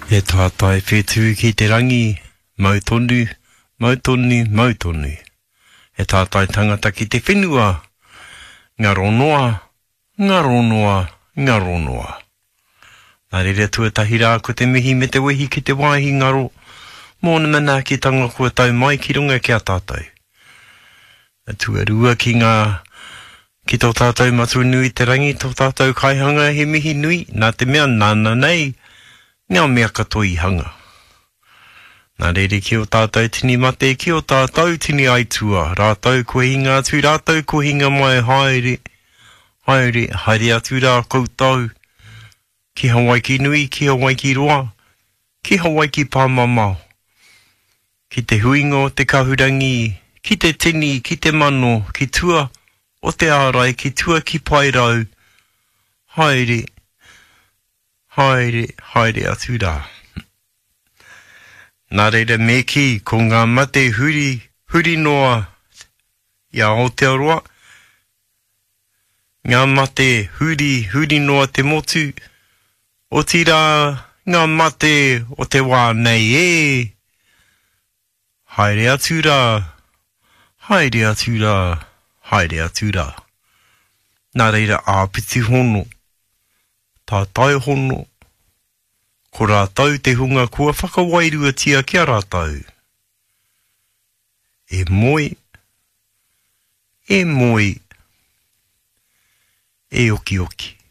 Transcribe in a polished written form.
He tātai whetū ki te rangi, mau tonu, mau tonu, mau tonu. He tātai tangata ki te whenua, ngaro noa, ngaro noa, ngaro noa. Nā reira tuatahi rā ko te mihi me te wehi ki te wāhi ngaro mōna manaakitanga kua tau mai ki runga ki a tātou. Tuarua ki ngā, ki tō tātou Matua nui te rangi, tō tātou kaihanga he mihi nui, nā te mea nāna nei ngā mea katoa i hanga. Nā reira ki ō tātou tini mate, ki ō tātou tini aitua, rātou kua hinga atu, rātou kua hinga mai, haere, haere, haere atu rā koutou, ki Hawaiki nui, ki Hawaiki roa, ki Hawaiki pāmamao. Ki te huinga o te kahurangi, ki te tini, ki te mano, ki tua o te ārai, ki tua ki Paerau, haere, haere, haere atu rā. Nā reira me kī, ko ngā mate huri, huri noa i a Aotearoa, ngā mate huri, huri noa te motu, otirā ngā mate o te wā nei e, haere atu rā, haere atu rā, haere atu rā. Nā reira āpiti hono, tātai hono, ko rātou te hunga kua whakawairuatia ki a rātou. E moe, e moe, e okioki.